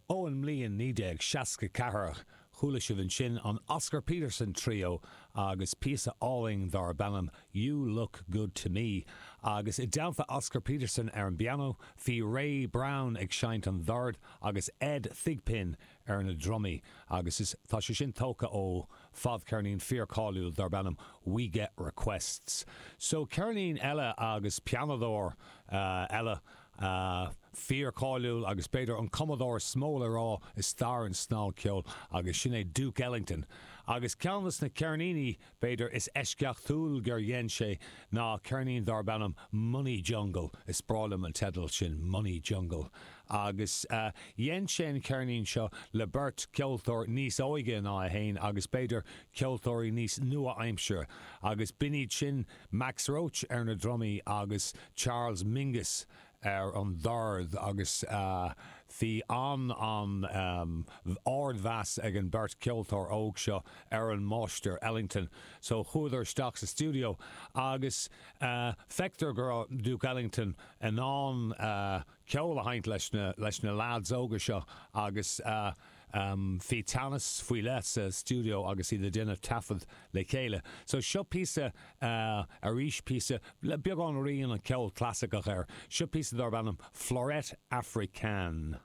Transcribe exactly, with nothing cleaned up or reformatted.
Ón mbliain naoi déag seasca ceathair, chuala sibh ansin an Oscar Peterson Trio agus píosa álainn darb ainm You Look Good To Me. Agus i dteannta Oscar Peterson ar an bpianó, bhí Ray Brown ag seinnt an dord agus Ed Thigpen ar na drumaí agus is tá sé sin tógtha ó fadcheirnín fíorcháiliúil darb ainm We Get Requests. So ceirnín eile agus pianóir eile fíorcháiliúil agus b'fhéidir an cumadóir is mó le rá i stair an snagcheoil agus sin é Duke Ellington. Agus ceann de na ceirníní b'fhéidir is eisceachtúil gur dhein sé ná ceirnín darb ainm Money Jungle is breá liom an teideal sin Money Jungle. Agus uh, dhein sé an ceirnín seo le beirt ceoltóir níos óige ná é féin agus b'fhéidir ceoltóirí níos nua-aimseartha agus b'in iad sin Max Roach ar na drumaí agus Charles Mingus ar an dord agus uh, bhí an an um, ardmheas ag an beirt ceoltóir óg seo ar an máistir Ellington. So chuadar isteach sa studio agus uh, feictear go raibh Duke Ellington in ann uh, ceol a sheinnt leis na, leis na lads óga seo agus uh, um, bhí teannas faoi leith sa studio agus iad ag déanamh taifead le chéile. So seo píosa uh, arís píosa le beagán rian an ceol clasaiceach air, seo píosa darb ainm Fleurette Africaine.